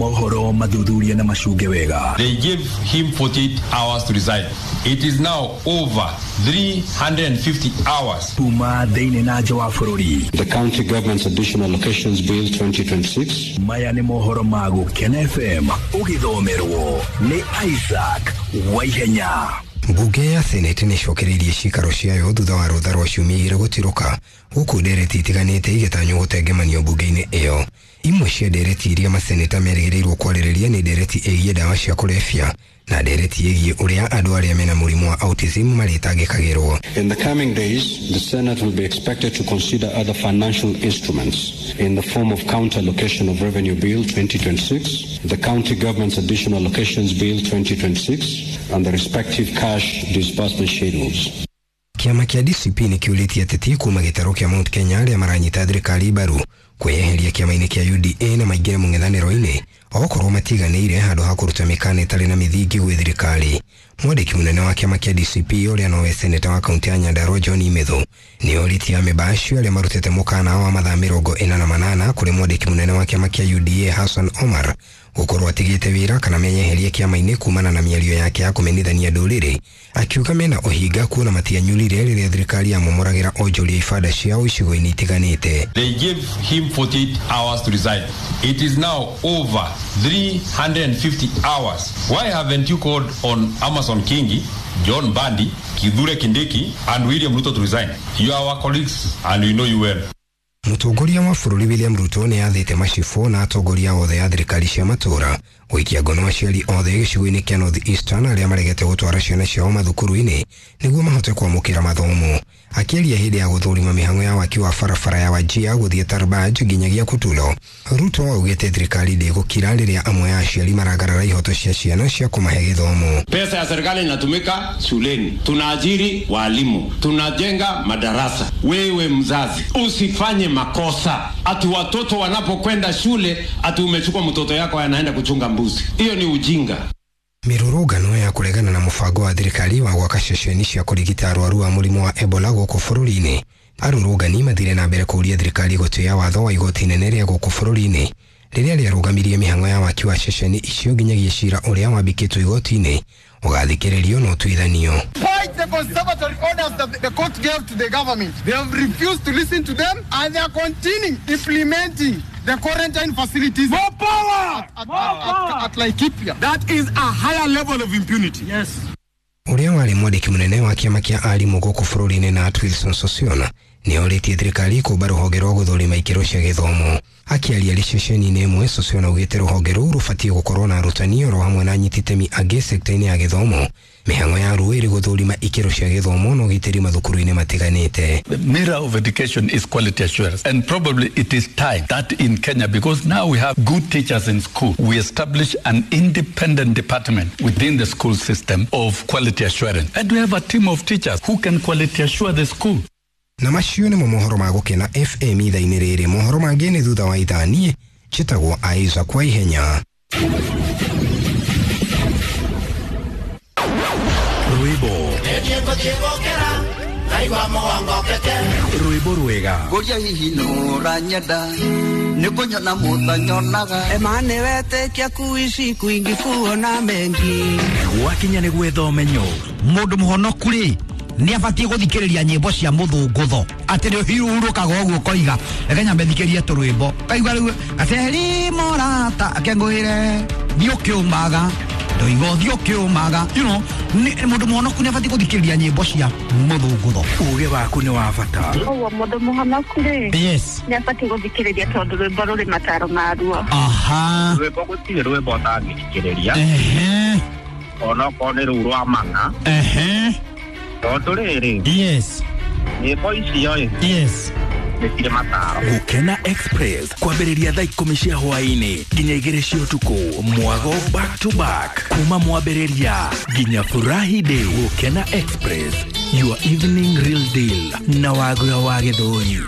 Mohoro mathuthuria na macunge wega. They gave him 48 hours to resign. It is now over 350 hours. Kuma thĩinĩ na nja wa bũrũri. The County Government's Additional Allocations Bill 2026. Maya nĩ mohoro ma Gũkena FM ũgĩthomerwo nĩ Isaac Waihenya. Mbunge ya Senate nĩ ĩcokereirie ciikaro ciayo thutha wa rũtha rwa ciumia igĩrĩ gũtirũka gũkũ ndereti itiganĩte igĩtanywo gũtengemanio mbunge-inĩ ĩyo. Imwe cia ndereti iria maseneta merĩgĩrĩirwo kwarĩrĩria nĩ ndereti ĩgiĩ ndawa cia kũrebia na ndereti ĩgiĩ ũrĩa andũ arĩa mena mũrimũ wa autism marĩtangĩkagĩrwo. In the coming days, the Senate will be expected to consider other financial instruments in the form of Counter Allocation of Revenue Bill 2026, the County Government's Additional Allocations Bill 2026, and the respective cash disbursement schedules. Kĩama kĩa DCP nĩ kĩũrĩtie ateti kuma gĩtarũ kĩa Mount Kenya arĩa maranyita thirikari mbaru kwĩyeheria kĩama-inĩ kĩa UDA na maingĩre mũng'ethanĩro-inĩ okorwo matiganĩire handũ ha kũruta mĩkana ĩtarĩ na mĩthingi gwĩ thirikari. Mwandĩki mũnene wa kĩama kĩa DCP ũrĩa nowe seneta wa kaunti ya Nyandarua John Imethu nĩ orĩtie amemba acio arĩa marutĩte mũkana wa mathaa 48 kũrĩ mwandĩki mũnene wa kĩama kĩa UDA Hassan Omar gũkorwo atigĩte wĩra kana menyeherie kĩama-inĩ kumana na mĩario yake ya kũmenithania ndũrĩrĩ, akiuga mena ũhinga kuona matianyurire rĩrĩa thirikari yamomoragĩra onjoria ibanda ciao icigo-inĩ itiganĩte. They gave him 48 hours to resign. It is now over 350 hours. Why haven't you called on Amason Kingi, John Bandi, Kithure Kindiki, and William Ruto to resign? You are our colleagues and we know you well. Mũtongoria wa bũrũri William Ruto nĩ athĩte macibũ na atongoria othe a thirikari cia matũũra gũikia ngono aciari othe gĩcigo-inĩ kĩa North Eastern arĩa maregete gũtwara ciana ciao mathukuru-inĩ nĩguo mahote kwamũkĩra mathomo. Akĩaria hĩndĩ ya gũthũrima mĩhang'o ya waki wa barabara ya Wajir gũthiĩ Tarbaj nginyagia Kutulo, Ruto augĩte thirikari ndĩgũkira rĩrĩa amwe a aciari maragarara ihoto cia ciana cia kũmahe gĩthomo. Pesa ya serikali inatumika shuleni, tunaajiri walimu, tunajenga madarasa. Wewe mzazi usifanye makosa ati watoto wanapokwenda shule ati umechukua mtoto yako anaenda kuchunga mbuzi. Hiyo ni ujinga. Mĩrũrũngano ya kũregana na mũbango wa thirikari wa gwaka ceceni cia kũrigita arwaru a mũrimũ wa Ebola gũkũ bũrũri-inĩ. Arũrũngani mathire na mbere kũũria thirikari gũtĩa watho wa igoti inene rĩa gũkũ bũrũri-inĩ rĩrĩa rĩarũgamirie mĩhang'o ya waki wa ceceni icio nginyagia cira ũrĩa wambikĩtwo igoti-inĩ ũgathikĩrĩrio na ũtuithanio. Despite the conservatory orders that the court gave to the government, they have refused to listen to them and they are continuing implementing the quarantine facilities. More power! At Laikipia. That is a higher level of impunity. Yes. Ũrĩa warĩ mwandĩki mũnene wa kĩama kĩa arimũ gũkũ bũrũri-inĩ na Wilson Sossion nĩ orĩtie thirikari kũmba rũhonge rwa gũthũrima ikĩro cia gĩthomo. Akĩaria arĩ ceceni-inĩ ĩmwe, Sossion augĩte rũhonge rũu rũbatiĩ gũkorwo na arutani oro hamwe na anyiti itemi angĩ sekta-inĩ ya gĩthomo. Mĩhang'o ya ruo ĩrĩ gũthũrima ikĩro cia gĩthomo na ũgitĩri mathukuru-inĩ matiganĩte. The mirror of education is quality assurance, and probably it is time that in Kenya, because now we have good teachers in school, we establish an independent department within the school system of quality assurance, and we have a team of teachers who can quality assure the school. Na macio nĩmo mohoro ma Gũkena FM ithaa-inĩ rĩrĩ. Mohoro mangĩ nĩ thutha wa ithaa. Niĩ njĩtagwo Isaac Waihenya. Rwĩmbo rwĩmbo rwega Ngũria hihi nũranyenda nĩ kũnyona mũtanyonaga Emane wetĩkia kuishi kwingi kuona mengi gwakinya nĩ gwetha ũmenyo. Mũndũ mũhonoku rĩ nĩ abatiĩ gũthikĩrĩria nyĩmbo cia mũthũngũtho atĩ nĩ ũhurũkaga ũguo ũkoiga reke nyambe thikĩrie tũrwĩmbo kaigua rĩu gaceri mũrata akengũĩre thiĩ ũkĩũmaga ndoiga ũthiĩ ũkĩũmaga, you know, mũndũ mũhonoku nĩ abatiĩ gũthikĩrĩria nyĩmbo cia mũthũngũtho. Ũgĩ waku nĩ wa bata. Ũguo mũndũ mũhonoku rĩ, yes, nĩ abatiĩ gũthikĩrĩria tondũ rwĩmbo rũrĩ mataro maruo. Aha. Rwĩmbo gũtirĩ rwĩmbo ũtangĩthikĩrĩria. Ehe. Onokorwo nĩ rũu rwa mang'a. Ehe. Tondũ rĩrĩ, yes, nyĩmbo icio ĩ, yes, nĩ cirĩ mataro. Gũkena Express kwambĩrĩria thaa 10 cia hwaĩ-inĩ nginya 2 cia ũtukũ, mwago back to back kuma mwambĩrĩria nginya furahi day. Gũkena Express, your evening real deal na Wagura wa Gĩthũri.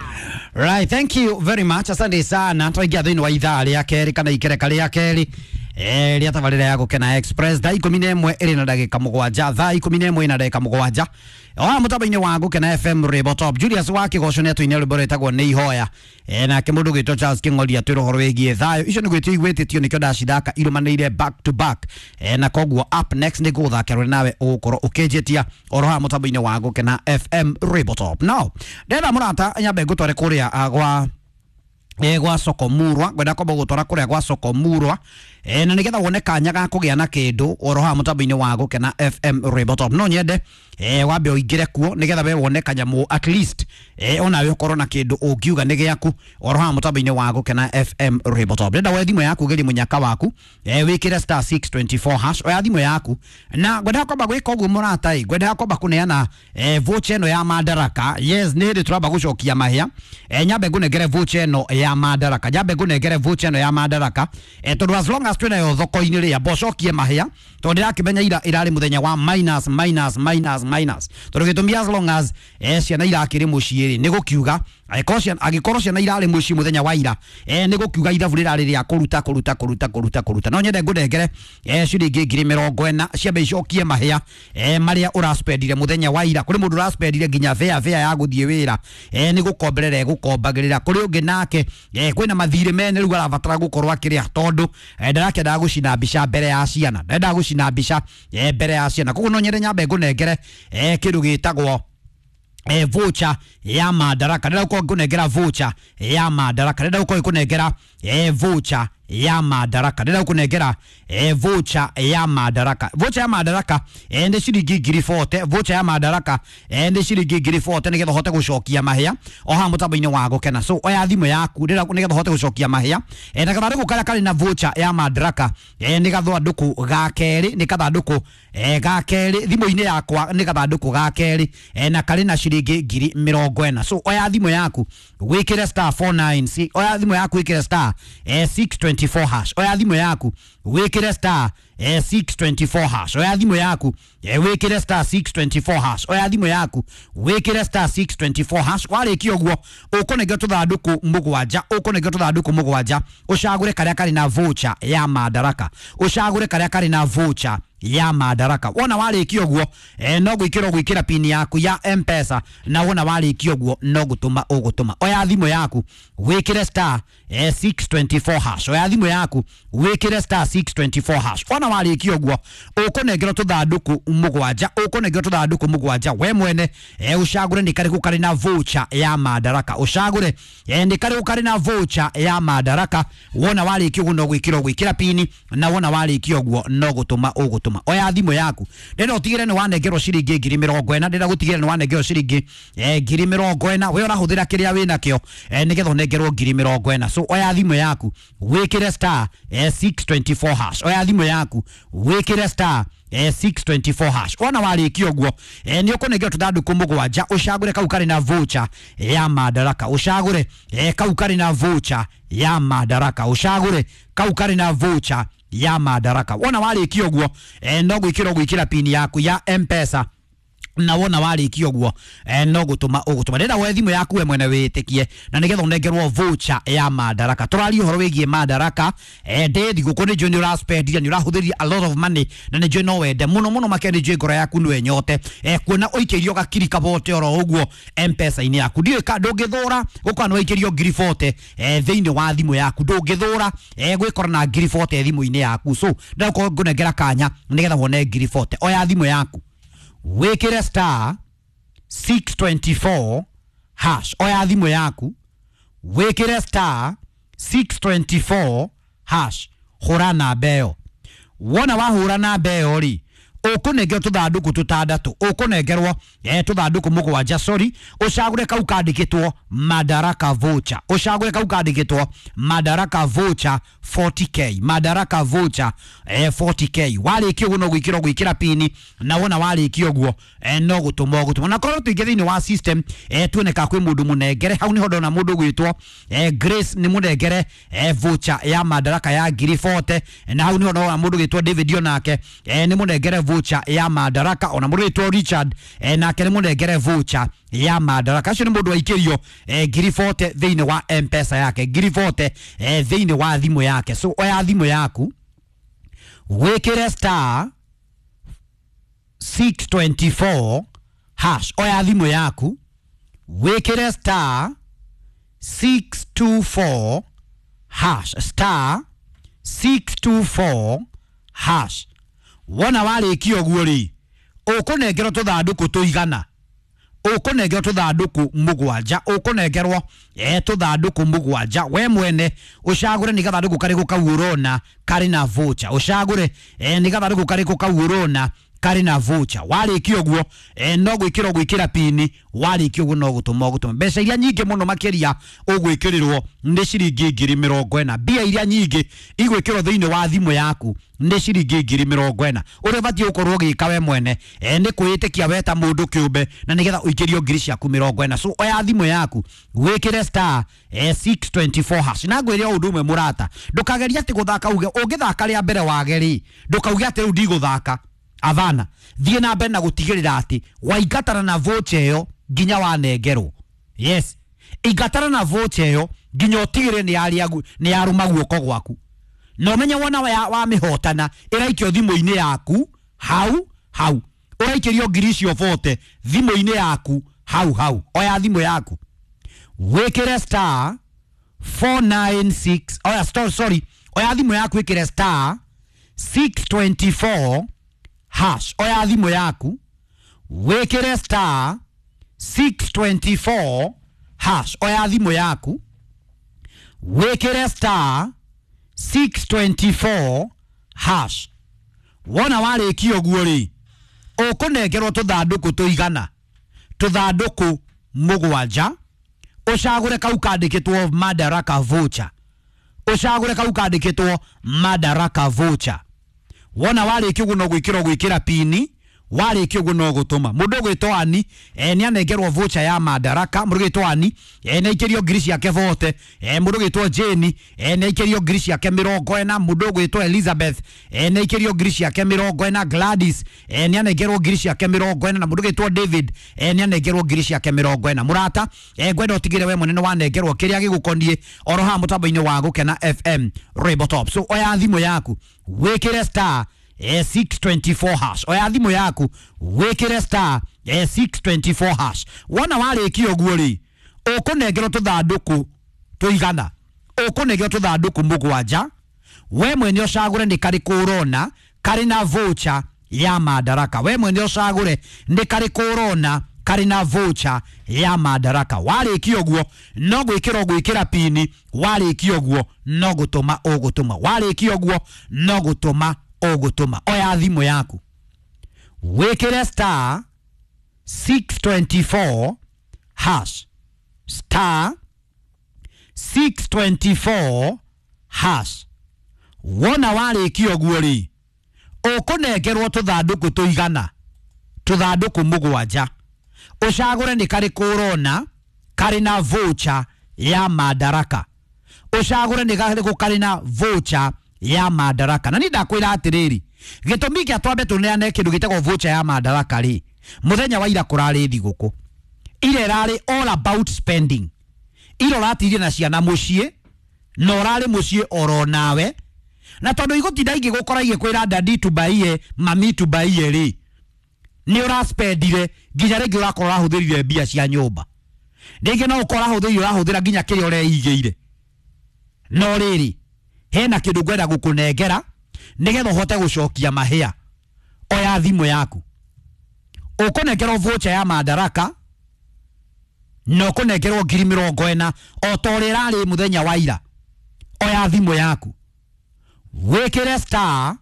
Right, thank you very much. Asante sana. Twaingia thĩinĩ wa ithaa rĩa kerĩ kana ikereka rĩa kerĩ. Rĩa tabarĩra ya Gũkena Express thaa 11 ĩrĩ na ndagĩka 7, thaa 11 na ndagĩka 7 oha mũtambo-inĩ wa Gũkena FM Rwĩmbo Top. Julius wa Kĩgoco nĩ atũinĩra rwĩmbo rwĩtagwo Nĩ Ihoya. Nake mũndũ ũgwĩtwo Charles Kĩng'ori atwĩra ũhoro wĩgiĩ thayũ. Icio nĩ gwĩtio igwĩtĩtio nĩkĩo ndacithaka irũmanĩrĩire back to back. Na koguo up next nĩ ngũgũthakĩra ũrĩa nawe ũgũkorwo ũkĩnjĩtia oro haha mũtambo-inĩ wa Gũkena FM Rwĩmbo Top. Now ndĩrenda mũrata nyambe ngũtware kũrĩa gwa gwa soko murwa, ngwenda kwamba gũtwara kũrĩa gwa soko murwa na nigetha wone kanya ga kũgĩa na kĩndũ oro haha mũtambo-inĩ wa Gũkena FM Rwĩmbo Top. No nyende wambe ũingĩre kuo nigetha we wone kanyamũ at least onawe ũkorwo na kĩndũ ũngiuga nĩ gĩaku oro haha mũtambo-inĩ wa Gũkena FM Rwĩmbo Top. Ndĩrenda woe thimũ yaku ũgerie mũnyaka waku, wĩkĩre star 624 hash, oya thimũ yaku na ngwendaga kwamba gwĩka ũguo mũrata ĩ, ngwendaga kwamba kũneana voucher ĩno ya Madaraka. Yes, nĩ hĩndĩ tũramba gũcokia mahĩa. Nyambe ngũnengere voucher ĩno ya Madaraka, nyambe ngũnengere voucher ĩno ya Madaraka tondũ as long as twĩnayo thoko-inĩ rĩ, amba ũcokie mahĩa tondũ ndĩrakĩmenya ira ĩrarĩ mũthenya wa minus minus minus minus, tondũ gĩtũmi as long as ciana irakĩrĩ mũciĩ rĩ, nĩ gũkiuga angĩkorwo ciana irarĩ mũciĩ mũthenya wa ira nĩ gũkiuga ithabu rĩrarĩ rĩa kũruta kũruta kũruta kũruta kũruta. No nyende ngũnengere ciringi 40,000 ciambe icokie mahĩa marĩa ũraspendire mũthenya wa ira. Kũrĩ mũndũ ũraspendire nginya fare ya gũthiĩ wĩra, nĩ gũkomberera egũkombagĩrĩra. Kũrĩ ũngĩ nake kwĩna mathirĩ mene rĩu arabatara gũkorwo akĩrĩa tondũ ndarakĩendaga gũcina mbica mbere ya ciana, ndendaga gũcina mbica mbere ya ciana. Koguo no nyende nyambe ngũnengere kĩndũ gĩtagwo voucher ya Madaraka. Ndĩrenda gũkorwo ngĩkũnengera voucher ya Madaraka, ndĩrenda gũkorwo ngĩkũnengera voucher ya Madaraka, ndĩrenda gũkũnengera voucher ya Madaraka. Voucher ya Madaraka nĩ ciringi 40,000. Voucher ya Madaraka nĩ ciringi 40,000 nĩgetha ũhote gũcokia mahĩa o haha mũtambo-inĩ wa Gũkena. So oya thimũ yaku nĩgetha ũhote gũcokia mahĩa. Na gathandũkũ karĩa karĩ na voucher ya Madaraka nĩ gathandũkũ ga kerĩ, nĩ gathandũkũ ga kerĩ thimũ-inĩ yakwa, nĩ gathandũkũ ga kerĩ na karĩ na ciringi 40,000. So oya thimũ yaku wĩkĩre star 49, oya thimũ yaku wĩkĩre star 624 hash, oya thimũ yaku wĩkĩre star 624 hash, oya thimũ yaku wĩkĩre star 624 hash, oya thimũ yaku wĩkĩre star 624 hash. Warĩkia ũguo ũkũnengera tũthandũkũ 7, ũkũnengera tũthandũkũ 7, ũcagũre karĩa karĩ na voucher ya Madaraka, ũcagũre karĩa karĩ na voucher ya Madaraka. Wona warĩkia ũguo no gwĩkĩra ũgwĩkĩra pin yaku ya M-Pesa, na wona warĩkia ũguo no gũtũma ũgũtũma. Oya thimũ yaku wĩkĩre star 624 hash, oya thimũ yaku wĩkĩre star 624 hash. Wona warĩkia ũguo ũkũnengerwo tũthandũkũ 7, ũkũnengerwo tũthandũkũ 7 we mwene ũcagũre nĩ karĩkũ karĩ na voucher ya Madaraka, ũcagũre nĩ karĩkũ karĩ na voucher ya Madaraka. Wona warĩkia ũguo no gwĩkĩra ũgwĩkĩra pin, na wona warĩkia ũguo no gũtũma ũgũtũma. Oya thimũ yaku, ndĩrenda ũtigĩre nĩ wanengerwo ciringi 40,000, ndĩrenda gũtigĩra nĩ wanengerwo ciringi 40,000. We ũrahũthĩra kĩrĩa wĩnakĩo nĩgetha ũnengerwo 40,000. So oya thimũ yaku wĩkĩre star 624 hash, oya thimũ yaku wĩkĩre star 624 hash. Wona warĩkia ũguo nĩ ũkũnengerwo tũthandũkũ 7, ũcagũre kau karĩ na voucher ya Madaraka, ũcagũre kau karĩ na voucher ya Madaraka, ũcagũre kau karĩ na voucher ya Madaraka. Wona warĩkia ũguo no gwĩkĩra ũgwĩkĩra pin yaku ya M-Pesa, na wona warĩkia ũguo no gũtũma ũgũtũma. Ndĩrenda woe thimũ yaku we mwene wĩtĩkie na nĩgetha ũnengerwo voucher ya Madaraka. Tũraria ũhoro wĩgiĩ Madaraka. Ndĩ thigũkũ nĩ njũĩ nĩ ũraspendire, nĩ ũrahũthĩrire a lot of money, na nĩ njũĩ no wende mũno mũno makĩria, nĩ njũĩ ngoro yaku nĩwe nyote kuona ũikĩirio gakiri kabote oro ũguo M-Pesa-inĩ yaku. Ndiũĩ ka ndũngĩthũra gũkorwo nĩ waikĩrio 40,000 thĩinĩ wa thimũ yaku, ndũngĩthũra gwĩkora na 40,000 thimũ-inĩ yaku. So ndĩrenda gũkorwo ngũnengera kanya nĩgetha wone 40,000. Oya thimũ yaku wĩkĩre star 624 hash, oya thimũ yaku wĩkĩre star 624 hash, hũra namba ĩyo. Wona wahũra namba ĩyo rĩ, ũkũnengerwo tũthandũkũ 6, ũkũnengerwo tũthandũkũ 7, sorry, ũcagũre kau kandĩkĩtwo Madaraka voucher, ũcagũre kau kandĩkĩtwo Madaraka voucher 40k, Madaraka voucher 40k. Warĩkia ũguo no gwĩkĩra ũgwĩkĩra pini, na wona warĩkia ũguo no gũtũma ũgũtũma. Na korwo tũingĩ thĩinĩ wa system tuone ka kwĩ mũndũ mũnengere hau, nĩho ndona mũndũ ũgwĩtwo Grace nĩ mũnengere voucher ya Madaraka ya 40,000, na hau nĩho ndona mũndũ ũgwĩtwo David onake nĩ mũnengere voucher ya Madaraka, ona mũndũ ũgwĩtwo Richard nake nĩ mũnengere voucher ya Madaraka. Acio nĩ mũndũ waikĩrio 40,000 thĩinĩ wa M-Pesa yake, 40,000 thĩinĩ wa thimũ yake. So oya thimũ yaku Wĩkĩre star 624 hash. Oya thimũ yaku wĩkĩre star 624 hash, star 624 hash. Wona warĩkia ũguo rĩ, ũkũnengerwo tũthandũkũ tũigana, ũkũnengerwo tũthandũkũ mũgwanja, ũkũnengerwo tũthandũkũ mũgwanja. We mwene ũcagũre nĩ gathandũkũ karĩkũ kau ũrona karĩ na voucher, ũcagũre nĩ gathandũkũ karĩkũ kau ũrona karĩ na voucher. Warĩkia ũguo no gwĩkĩra ũgwĩkĩra pini, warĩkia ũguo no gũtũma ũgũtũma. Mbeca iria nyingĩ mũno makĩria ũgwĩkĩrĩrwo nĩ ciringi 40,000. Mbia iria nyingĩ igwĩkĩrwo thĩinĩ wa thimũ yaku nĩ ciringi 40,000. Ũrĩa ũbatiĩ gũkorwo ũgĩka we mwene nĩ kwĩĩtĩkia we ta mũndũ kĩũmbe, na nĩgetha ũikĩrio 40,000. So oya thimũ yaku wĩkĩre star 624 hash. Na ngwĩre o ũndũ ũmwe mũrata, ndũkagerie atĩ gũthaka uge ũngĩthaka rĩa mbere wage rĩ, ndũkauge atĩ rĩu ndigũthaka. Avana, thiĩ na mbere na gũtigĩrĩra atĩ waingatana na voucher ĩyo nginya wanengerwo. Yes, ingatana na voucher ĩyo nginya ũtigĩrĩre nĩ yarũma guoko gwaku. Na ũmenye wona wamĩhotana ĩraikio thimũ-inĩ yaku hau hau, ũraikĩrio 40,000 thimũ-inĩ yaku hau hau. Oya thimũ yaku wĩkĩre star 496, oya sorry, oya thimũ yaku wĩkĩre star 624 hash. Oya thimũ yaku wĩkĩre star 624 hash. Oya thimũ yaku wĩkĩre star 624 hash. Wona warĩkia ũguo rĩ, ũkũnengerwo tũthandũkũ tũigana, tũthandũkũ mũgwanja, ũcagũre kau kandĩkĩtwo Madaraka voucher, ũcagũre kau kandĩkĩtwo Madaraka voucher. Wona warĩkia ũguo no gwĩkĩra ũgwĩkĩra pini, warĩkia ũguo no gũtũma. Mũndũ ũgwĩtwo Ani nĩ anengerwo voucher ya Madaraka. Mũndũ ũgwĩtwo Ani nĩ aikĩrio 40,000. Mũndũ ũgwĩtwo Jane nĩ aikĩrio 40,000. Mũndũ ũgwĩtwo Elizabeth nĩ aikĩrio 40,000. Gladys nĩ anengerwo 40,000. Na mũndũ ũgwĩtwo David nĩ anengerwo 40,000. Mũrata, ngwenda ũtigĩre we mwene nĩ wanengerwo kĩrĩa gĩgũkoniĩ oro haha mũtambo-inĩ wa Gũkena FM Rainbow Top. So oya thimũ yaku wĩkĩre star 624 hash. Oya thimũ yaku wĩkĩre star 624 hash. Wona warĩkia ũguo rĩ, ũkũnengerwo tũthandũkũ tũigana, ũkũnengerwo tũthandũkũ mũgwanja. We mwene ũcagũre nĩ karĩkũ ũrona karĩ na voucher ya Madaraka. We mwene ũcagũre nĩ karĩkũ ũrona karĩ na voucher ya Madaraka. Warĩkia ũguo no gwĩkĩra ũgwĩkĩra pini, warĩkia ũguo no gũtũma ũgũtũma, warĩkia ũguo no gũtũma ũgũtũma. Oya thimũ yaku wĩkĩre star 624 hash, star 624 hash. Wona warĩkia ũguo rĩ, ũkũnengerwo tũthandũkũ tũigana, tũthandũkũ mũgwanja, ũcagũre nĩ karĩkũ ũrona karĩ na voucher ya Madaraka, ũcagũre nĩ karĩkũ karĩ na voucher ya Madaraka. Na ni ndakwĩra atĩrĩrĩ, gĩtũmi kĩa twambe tũneane kĩndũ gĩtagwo voucher ya Madaraka rĩ, mũthenya wa ira kũrarĩ thigũkũ, ira ĩrarĩ all about spending. Ira ũratirie na ciana mũciĩ na ũrarĩ mũciĩ oro nawe, na tondũ igũtinda igĩgũkora igĩkwĩra dadi tubaiye, mami tubaiye rĩ, nĩ ũraspendire nginya rĩngĩ ũrakorwo ũrahũthĩrire mbia cia nyũmba, rĩngĩ no ũkorwo ũrahũthĩrire ũrahũthĩra nginya kĩrĩa ũreigĩire. No rĩrĩ, hena kĩndũ ngwenda gũkũnengera nĩgetha ũhote gũcokia mahĩa. Oya thimũ yaku ũkũnengerwo voucher ya Madaraka na ũkũnengerwo 40,000 o ta ũrĩa ĩrarĩ mũthenya wa ira. Oya thimũ yaku wĩkĩre star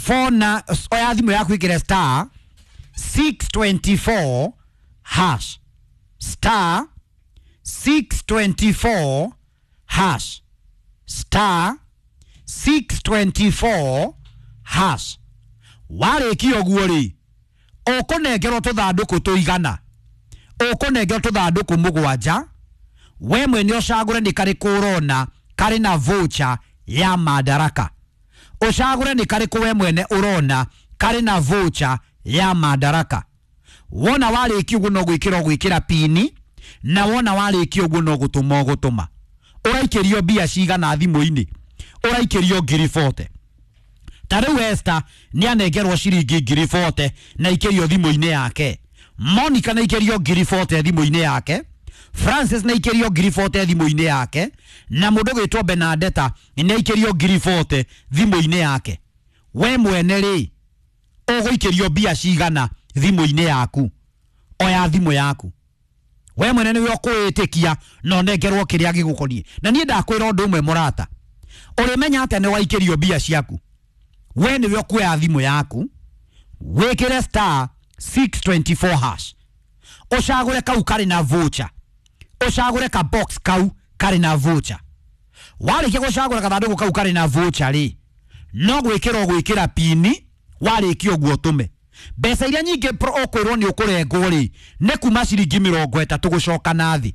4 na, oya thimũ yaku wĩkĩre star 624 hash, star 624 hash, star 624 hash. Warĩkia ũguo rĩ, ũkũnengerwo tũthandũkũ tũigana, ũkũnengerwo tũthandũkũ mũgwanja. We mwene ũcagũre nĩ karĩkũ ũrona karĩ na voucher ya Madaraka, ũcagũre nĩ karĩkũ we mwene ũrona karĩ na voucher ya Madaraka. Wona warĩkia ũguo no gwĩkĩra ũgwĩkĩra pini, na wona warĩkia ũguo no gũtũma ũgũtũma. Ũraikĩrio mbia cigana thimũ-inĩ? Ũraikĩrio 40,000. Ta rĩu Esther nĩ anengerwo ciringi 40,000 na ikĩrio thimũ-inĩ yake. Monica na ikĩrio 40,000 thimũ-inĩ yake. Francis na ikĩrio 40,000 thimũ-inĩ yake, na mũndũ gwĩtwo Benadetta nĩ aikĩrio 40,000 thimũ-inĩ yake. We mwene rĩ, ũgũikĩrio mbia cigana thimũ-inĩ yaku? Oya thimũ yaku we mwene nĩwe ũkwĩĩtĩkia na ũnengerwo kĩrĩa gĩgũkoniĩ. Na niĩ ndakwĩra ũndũ ũmwe mũrata, ũrĩmenya atĩa nĩ waikĩrio mbia ciaku? We nĩwe ũkuoya thimũ yaku wĩkĩre star 624 hash, ũcagũre kau karĩ na voucher, ũcagũre ka box kau karĩ na voucher. Warĩkia gũcagũra gathandũkũ kau karĩ na voucher rĩ, no gwĩkĩra ũgwĩkĩra pini, warĩkia ũguo ũtũme. Mbeca iria nyingĩ ũkwĩrwo nĩ ũkũrengwo rĩ, nĩ kuma ciringi 30 gũcoka na thĩ.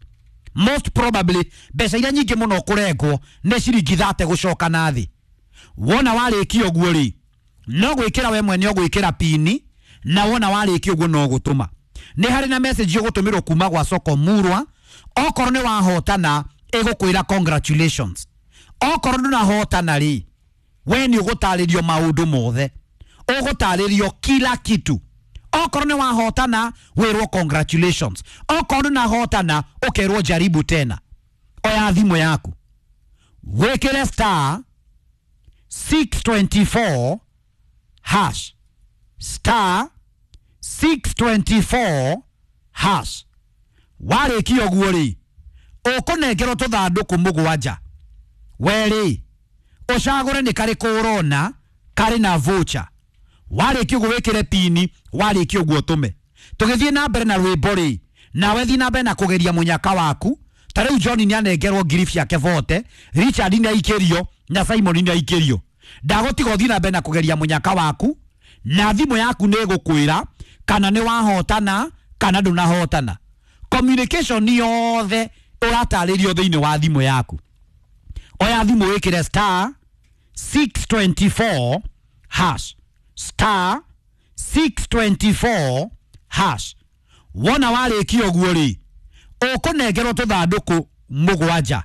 Most probably mbeca iria nyingĩ mũno ũkũrengwo nĩ ciringi 30 gũcoka na thĩ. Wona warĩkia ũguo rĩ, no gwĩkĩra we mwene ũgwĩkĩra pini, na wona warĩkia ũguo no gũtũma. Nĩ harĩ na message ũgũtũmĩrwo kuma gwa Soko Murwa, okorwo nĩ wahotana ĩgũkwĩra congratulations, okorwo ndũnahotana rĩ, we nĩ ũgũtarĩrio maũndũ mothe, ũgũtarĩrio kila kitu. Okorwo nĩ wahotana wĩrwo congratulations, okorwo ndũnahotana ũkerwo jaribu tena. Oya thimũ yaku wĩkĩre star 624 hash, star 624 hash. Warĩkia ũguo rĩ, ũkũnengerwo tũthandũkũ 7. We rĩ, ũcagũre nĩ karĩkũ ũrona karĩ na voucher. Warĩkia ũguo wĩkĩre pini, warĩkia ũguo ũtũme. Tũgĩthiĩ na mbere na rwĩmbo rĩ, nawe thiĩ na mbere na kũgeria mũnyaka waku. Ta rĩu John nĩ anengerwo ngiri ciake 40, Richard nĩ aikĩrio na Simon nĩ aikĩrio. Ndagũtiga ũthiĩ na mbere na kũgeria mũnyaka waku, na thimũ yaku nĩ ĩgũkwĩra kana nĩ wahotana kana ndũnahotana. Communication yothe ũratarĩrio thĩinĩ wa thimũ yaku. Oya thimũ wĩkĩre star 624 hash, star 624 hash. Wona warĩkia ũguo rĩ, ũkũnengerwo tũthandũkũ 7.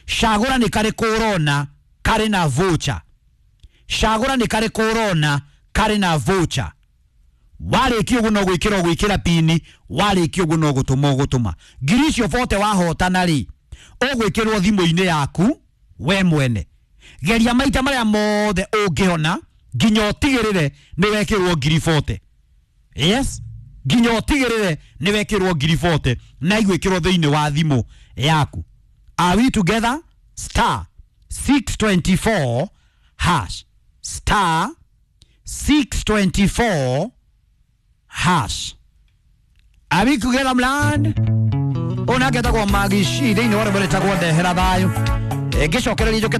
Cagũra nĩ karĩkũ ũrona karĩ na voucher, cagũra nĩ karĩkũ ũrona karĩ na voucher. Warĩkia ũguo no gwĩkĩra ũgwĩkĩra pini, warĩkia ũguo no gũtũma ũgũtũma. Ngiri icio 40 wahotana rĩ, ũgwĩkĩrwo thimũ-inĩ yaku we mwene. Geria maita marĩa mothe ũngĩhona nginya ũtigĩrĩre nĩ wekĩrwo ngiri 40. Yes, nginya ũtigĩrĩre nĩ wekĩrwo ngiri 40 na igwĩkĩrwo thĩinĩ wa thimũ yaku. Are we together? Star 624 hash, star 624 hash. Are we together mland? Ona ketagwo Magishi thĩinĩ wa rwĩmbo rwĩtagwo Ndehera Thayũ. Ngĩcokereria njũke.